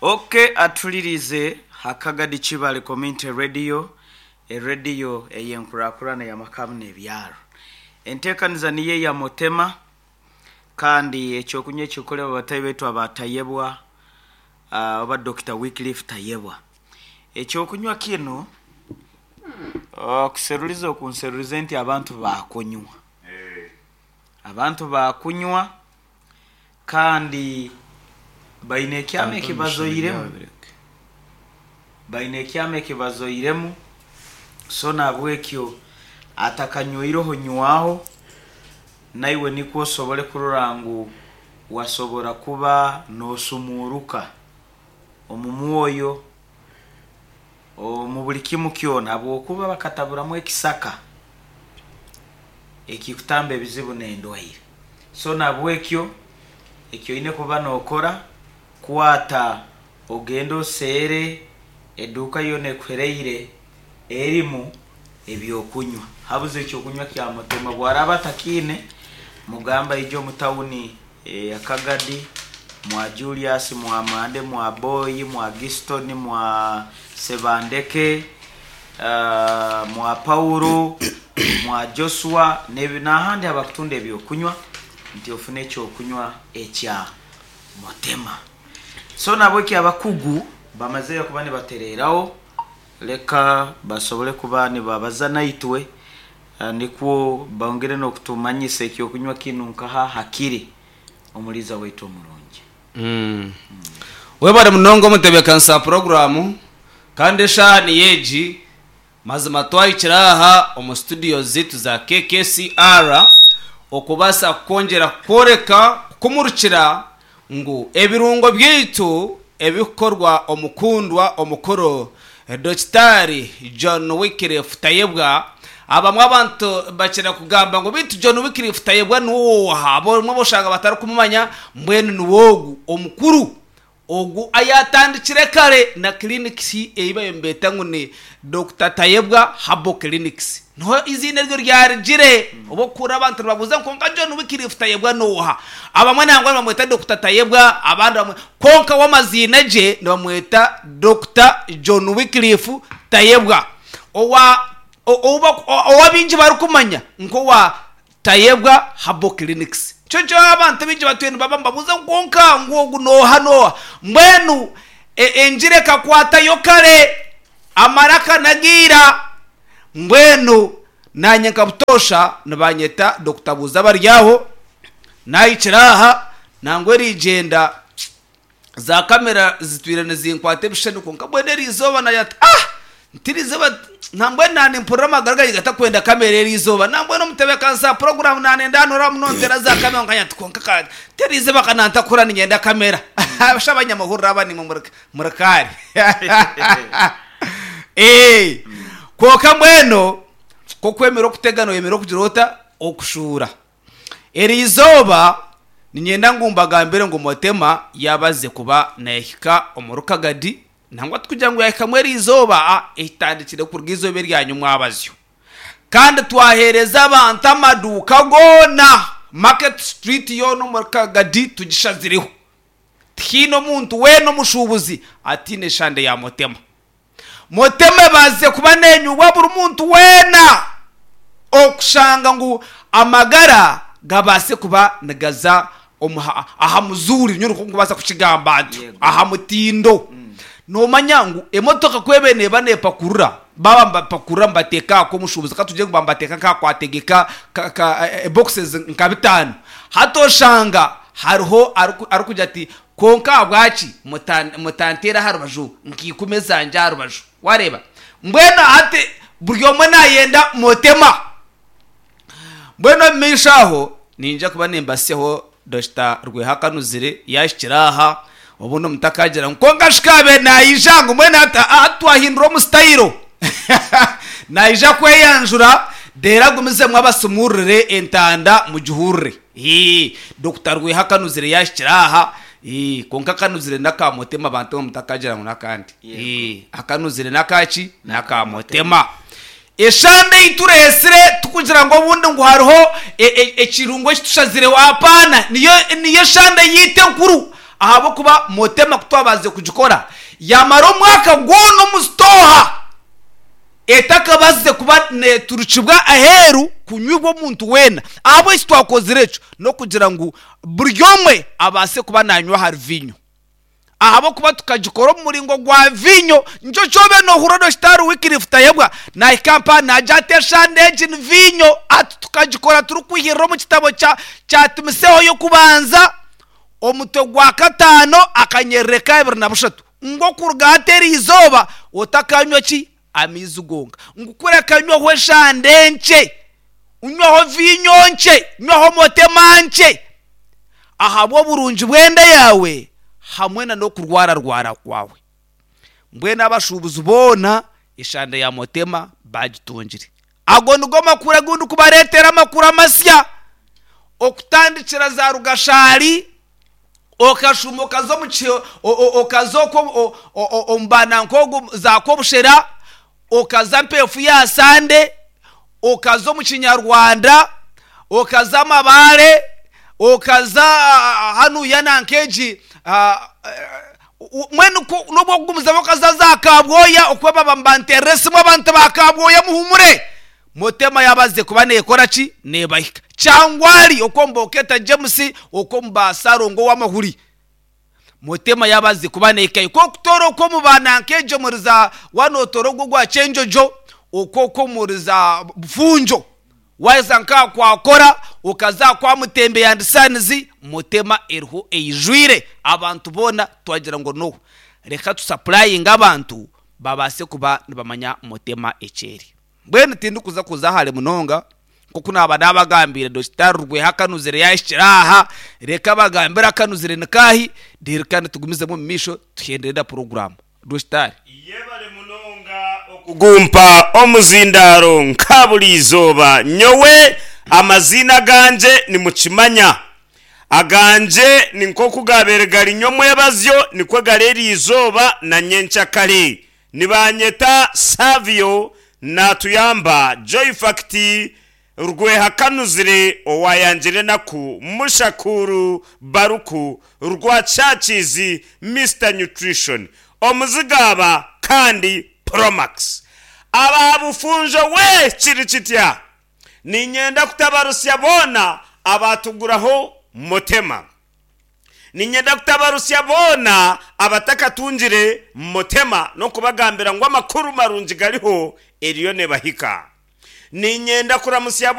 Ok atulirize ha Kagadi Kibale Community Radio, erediyo ey'enkurakurana y'amaka n'ebyaro. Enteekaniza niyo eya Mutema kandi eky'okunywa ekirikukorebwa bataahi baitu aba Tayebwa oba Dokita Wycliffe Tayebwa. Eky'okunywa kinu okuseruliza okunserulize nti abantu baakunywa. Abantu baakunywa Kandi baine ekyama eki bazoiremu, baine ekyama eki bazoiremu, so nahabwekyo atakanyweireho nywaho, naiwe nikwo osobole kurora ngu wasobora kuba nosumuuruka omu mwoyo, omu buli kimu kyona, habwokuba bakataburamu ekisaka ekikutamba ebizibu n'endwaire. So nahabwekyo eki oine kuba nokora, kwata ogende oseere eduuka yoona ekuhereire erimu eby'okunywa. Habuza eky'okunywa kya Mutema. Bwaraaba atakiine, mugambe aije omu tawuni eya Kagadi, mwa Julius, mwa Mande, mwa Boyi, mwa Giston, mwa Sebandeke, mwa Paulo, mwa Joshua, n'ahandi abakutunda eby'okunywa, nti ofune eky'okunywa ekya Mutema. So nahabweki abakugu bamazire kuba nibatereeraho, leka basobole kuba nibabaza naitwe Nikwo bongere n'okutumanyisa eky'okunywa kinu nkaha hakiri omuliiza waitu omurungi. Webare munonga omutebeekanisa wa puroguraamu kandi eshaaha niyo egi. Mazima twahikire aha omu situdiyo zaitu za KKCR okubaasa kukwongyera kukworeka, kukumurikira ngu ebirungo byaitu ebirikukorwa omukundwa omukuru Dokitaari John Wycliffe Tayebwa. Abamwe abantu bakira kugamba ngu beitu John Wycliffe Tayebwa niwe oha? Abamwe oshanga batarikumumanya mbwenu niwe ogu omukuru ogu ayaatandikire kare na clinics ei bariyo nibeeta ngu ni Dokita Tayebwa Herbal Clinics. Niho eiziina eryo ryarugire. Obu okuhurira abantu nibabuuza ngu kwonka John Wycliffe Tayebwa n'oha? Abamwe nangwa nibamweta Dokita Tayebwa, abandi bamwe kwonka we amaziina gye nibamweta Dokita John Wycliffe Tayebwa, owa ou ou abaingi barikumanya nk'owa Tayebwa Herbal Clinics. Nikyo kyo abantu abaingi batwire nibaba nibabuuza ngu kwonka ngu ogu n'oha n'oha? Mbwenu engiri ekakwatayo kare, amaraka n'aga ira. Mbwenu naanye nka butoosha nibanyeta Dokita Buuza Abaryaho, nahikire aha nangwa erigyenda za kamera zitwire nizinkwata ebishushani kwonka mbwenu eriizooba nagira nti ah! Nti eriizooba nambwenu naanimpurira amagara gangye gatakwenda kamera eriizooba nambwenu omutebeekanisa wa puroguraamu naanenda anora muno nteera za kamera kwonka ngira nti kwonka ka nti eriizooba ka nantakura niinyenda kamera busha abanyamahurire aba niimwe muri kaari Kwonka mbwenu ku okwemera okutega noyemera okugira ota? Okushuura. Eri izooba niinyenda ngu mbagambire ngu Motema yaabazize kuba naahika omu Rukagadi, nangwa tikugira ngu yaahikamu eri izooba, etandikire kuruga eizooba erya nyomwabazyo. Kandi twaheereza abantu amaduuka goona, Market Street yoona omu Rukagadi tugishazireho. Tihaine omuntu weena omushuubuzi ataine shande ya Motema. Motema ebaasize kuba neenyubwa buri muntu weena okushanga ngu amagara gabaase kuba nigaza omu aha muzuuri nyowe nikwo ndikubaasa kukigamba ntyo Yego. aha mutindo. Noomanya ngu emotoka ku ebaire neeba neepakurura, baaba nibapakurura nibateeka aha k'omushuubuzi ka tugire ngu baaba nibateeka nk'aha kwa Tegeka ka ka boxes nka bitaano, hati oshanga hariho arikugira ati Kwonka ahabwaki mutanteera aha rubaju nkaikumi ezangye aha rubaju? Waareeba? Mbwenu hati buri omwe naayenda Motema. Mbwenu omu maisho aho niinyija kuba nimbasyaho Dokita Rweha Akanuzire yaahikire aha, obundi omuntu akaagira ngu kwonka shi kaabaire naija ngu mbwenu hati hati twahindura omu sitayiro. Naija kweyanjura reero agumizemu abasumururire entanda mugihurire. Ii, Dokita Rweha akanuzire yaahikire aha, ii, kwonka akanuzire n'aka Mutema abantu abamwe mutakagira ngu n'akandi. Yego. Ii, akanuzire n'aka ki? N'aka Mutema. Eshande ei tureetsire tikugira ngu obundi ngu hariho e- e- ekirungo eki tushazireho, apaana, niyo niyo eshande yaitu enkuru. Ahabw'okuba Motema ku twabaasize kugikora, yaamara omwaka gwona omu sitooha etakabaasize kuba neeturukibwa aheeru kunywibwa omuntu weena. Ahabw'enki twakozire ekyo? N'okugira ngu buri omwe abaase kuba naanywa ahari viinyo. Ahabw'okuba tukagikora omu muringo gwa viinyo. Nikyo kyobe noohurira Dokitaari Wycliffe Tayebwa naahika mpaha naagira ati, Eshande egi ni viinyo. Ati tukagikora turikwihirira omu kitabo kya kya Timoseeho y'okubanza, omutwe gwa kataano akanyerere ka 23, ngu okuruga hati eri izooba otakanywa ki? Amaizi gonka. Ngu kureka nywaho eshande nkye, nywaho viinyo nkye, nywaho motema nkye. Ahabw'oburungi bw'enda yaawe hamwe na n'okurwararwara kwawe. Mbwenu abashuubuzi boona eshande ya Motema baagitungire. Ago nigo makuru agu ndikubareetera amakuru amasya okutandikira za Rugashari okashuuma okaza omu okaza okwo omu banankogu za Kobushera okaza Mpeefu ya Sande, okaza omu Kinyarwanda, okaza Amabaare, okaza hanuya nanka egi mbwenu n'obu orikugumizamu okaza za Kabwoya okwo baba nibanteerera esimu abantu ba Kabwoya muhumure, Motema yaabaasize kuba neekora ki? Neebahika. Kyangwari okwo omu Boketa James, okwo omu ba Sarongo ow'amahuri. Motema yaaba azi kuba neekayo. Ku orikutoora okwo omu ba nanka egyo omuri za waaba nootoora ogwo ogwa Kyenjojo, okwo okwo omuri za Bufunjo, waaza nk'aha kwa Kora, okaza aha kwa Mutembe and Sons, Motema eriho eijwire. Abantu boona twagira ngu no, reka tusapurayinge abantu babaase kuba nibamanya Motema eki eri. Mbwenu tindikuza kuza hare munonga, nk'oku naaba naabagambiire Dokitaari Rugweha akanuzire yaahikire aha, reka abagambire akanuzire ni kaahi, reero kandi tugumizemu omu maisho tuhendere na puroguraamu. Dokitaari. Yebare munonga okugumpa omuzindaaro nka buri izooba. Nyowe amaziina agangye nimukimanya. Agangye ni nk'oku gaabaire gari nyomwebazyo nikwo gari eri izooba na nyenkyakare. Nibanyeta Savio Natuyamba Joyfact Rwehakanuzire owayangire enaku Mushakuru Baruku Rwakyakiizi Mister Nutrition Omuzigaaba kandi Promax Aba Bufunjo we kiri kitya? Niinyenda kutabarusya boona abaatuguraho Motema. Niinyenda kutabarusya boona abatakatungire Motema n'okubagambira ngu amakuru marungi gariho eriyo nebahika. Niinyenda kuramusya.